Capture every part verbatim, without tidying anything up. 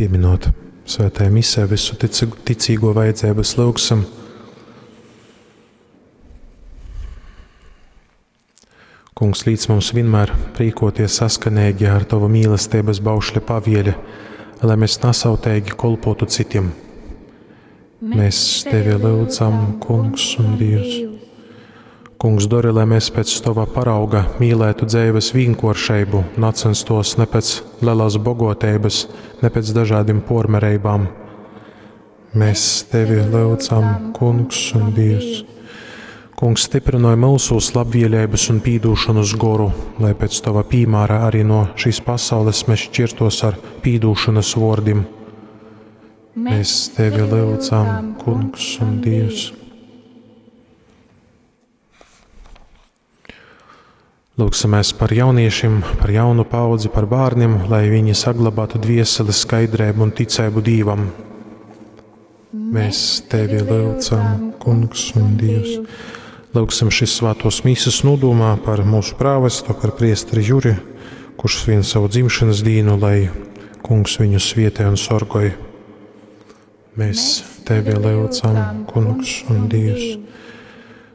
Pieminot svētajā misē visu ticīgo vajadzības lūgsim. Kungs, līdz mums vienmēr prīkoties saskanīgi ar Tavu mīlestības baušļa pavieli, lai mēs nasauteigi kolpotu citiem. Mēs Tevi lūdzam, Kungs un Dievs. Kungs, dori, lai mēs pēc Tava parauga mīlētu dzīves vienkāršību, nacenstos ne pēc lielās bogotības, ne pēc dažādiem pormerībām. Mēs Tevi lūdzam, Kungs un Dievs. Kungs, stiprināj mūsos labvēlības un pīdūšanas goru, lai pēc Tava piemēra arī no šīs pasaules mēs šķirtos ar pīdūšanas vārdiem. Mēs Tevi lūdzam, Kungs un Dievs. Lūksimies par jauniešiem, par jaunu paudzi, par bērniem, lai viņi saglabātu dvieseli, skaidrību un ticību Dievam. Mēs Tevi lūdzam, Kungs un Dievs. Lūksim šis svētos mīsas nodomā par mūsu prāvestu, par priesteri Juri, kurš svin savu dzimšanas dīnu, lai Kungs viņu svietē un sorgoj. Mēs Tevi lūdzam, Kungs un Dievs.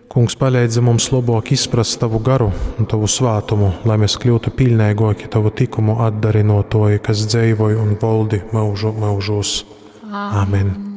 Kungs, palīdzi mums labāk izprast Tavu garu un Tavu svātumu, lai mēs kļūtu pilnīgāki Tavu tikumu atdarinotoji, kas dzīvoj un valdi mūžu mūžos. Amen.